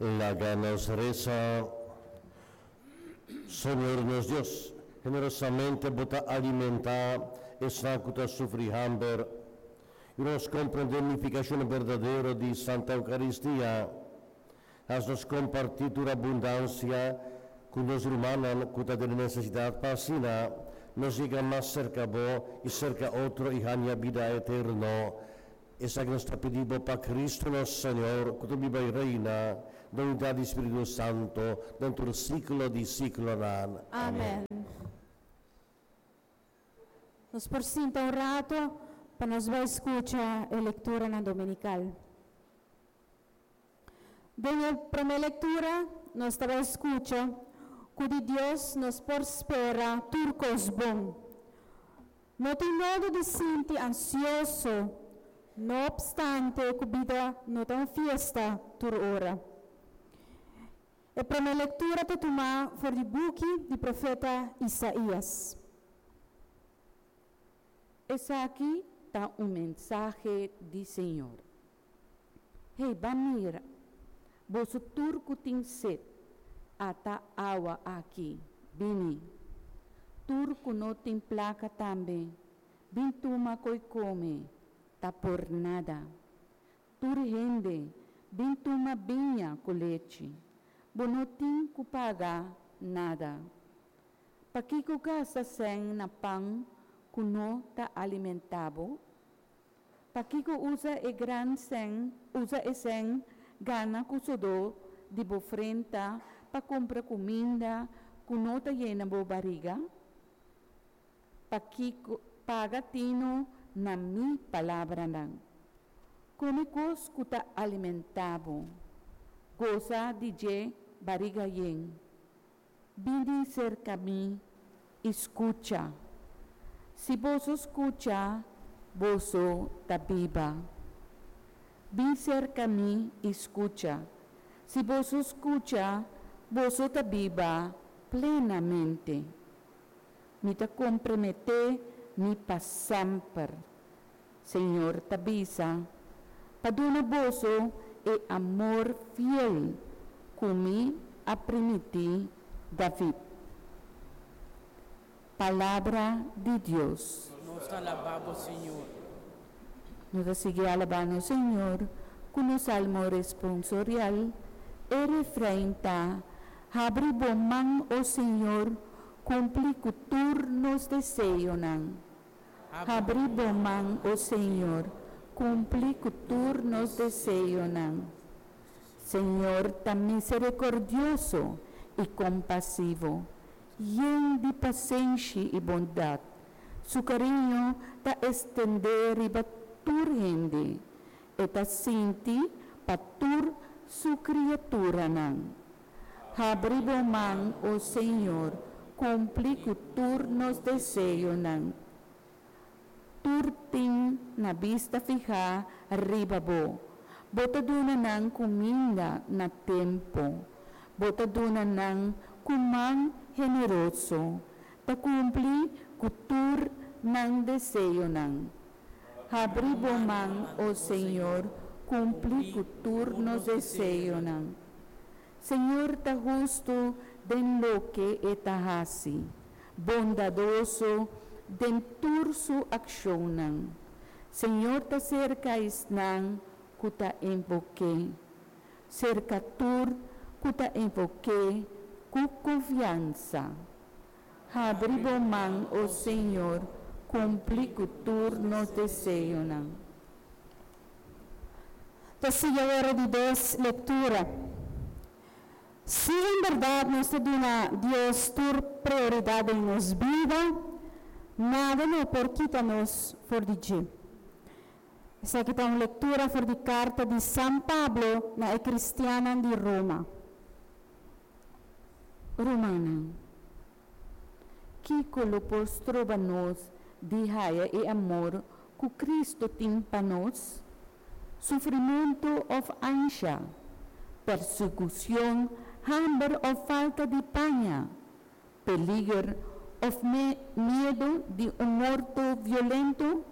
Laga nos resa. Señor nos Dios, generosamente Bo ta alimentá esnan ku ta sufri hamber. Yuda nos komprendé nifikashon berdadero di Santa Eukaristia. Hasi nos kompartí tur abundansia ku nos rumannan ku ta den nesesidat pa asina nos yega mas serka Bo i serka otro i haña bida eterno. Esaki nos ta pidi Bo pa Cristo nos Señor, ku ta biba i reina den unidat di Spiritu Santo den tur siklo di siklonan. Amen. Nos por sinta un rato pa nos bai skucha e lekturanan dominikal. Den e promé lektura nos ta bai skucha ku di Dios nos por spera tur kos bon. No tin modo di sinti ansioso, no opstante ku bida no ta un fiesta tur ora. E promé lektura ta tumá for di buki di profeta Isaías. Esaki ta un mensahe di Señor. Hey, ban mira, boso tur ku tin set, ata awa aki, bini. Tur ku no tin plaka tambe, bin tuma koi kome, ta por nada. Tur hende, bin tuma biña ku lechi, bo no tin ku paga nada. Pakiko gasta sèn na pan ku no ta alimentá bo? Pakiko usa e gran sèn, usa e sèn gana ku sodó di bo frenta pa kumpra kuminda ku no ta yena bo bariga? Pakiko paga tinu na mi palabranan? Kome kos ku ta alimentá bo, gosa di dje bariga yen. Bini serka mi i skucha. Si boso skucha, boso ta biba. Bin serka mi i skucha. Si boso skucha, boso ta biba plenamente. Mi ta komprometé mi pa semper, Señor ta bisa, pa duna boso e amor fiel ku mi a primintí David. Palabra di Dios. Nos ta alabá bo, Señor. Nos ta sigui alabá nos Señor ku nos salmo responsorial. E refrein ta, Habri bo man, o Señor, kumpli ku tur nos deseonan. Habri bo man, o Señor, kumpli ku tur nos deseonan. Señor ta miserikordioso i kompasivo, yen di pasenshi i bondat. Su kariño ta estendé riba tur hende. E ta sinti pa tur su kriaturanan. Habri bo man, o Señor, kumpli ku tur nos deseonan. Tur tin na bista fihá riba bo. Bo ta duna nan kuminda na tempu. Bo ta duna nan ku man generoso. Ta kumpli ku tur nan deseonan. Habri bo man, o Señor, kumpli ku tur nos deseonan. Señor ta hustu den loke e ta hasi, bondadoso den tur su akshonnan. Señor ta serka esnan ku ta invok'é, serka tur ku ta invok'é ku konfiansa. Habri bo man, o Señor, kumpli ku tur nos deseonan. Ta sigui awor e di dos lektura. Si en bèrdat nos ta duna Dios tur prioridat den nos bida, nada no por kita nos for di dje. Esaki ta un lektura for di karta di San Pablo na e kristiannan di Roma. Rumannan, kiko lo por stroba nos di haya e amor ku Kristu tin pa nos? Sufrimentu òf ansha, persekushon, hamber òf falta di paña, peliger òf miedu di un morto violento?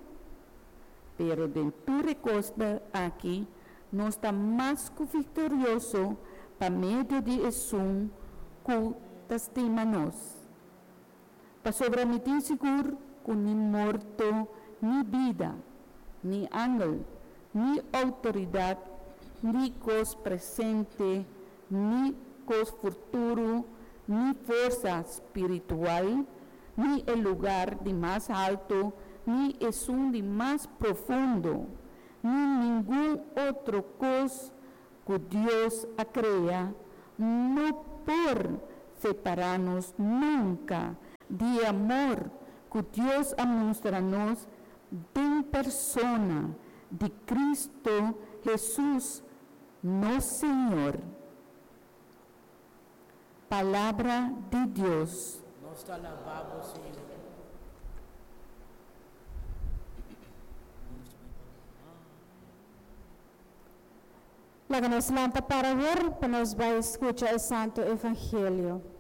Pero den tur e kosnan aki nos ta mas ku viktorioso. pa medio di esun ku ta stima nos. Pasobra mi tin sigur ku ni morto ni bida, ni angel, ni outoridat, ni kos presente, ni kos futuro, ni forsa spiritual, ni e lugar di mas haltu, ni esun di mas profundo, ni ningun otro kos ku Dios a krea, no por separá nos nunka di e amor ku Dios a mustra nos den persona di Kristu Hesus, nos Señor. Palabra di Dios. Nos ta alabá bo, Señor. Laga nos lanta para awor, pa nos bai skucha e Santu Evangelio.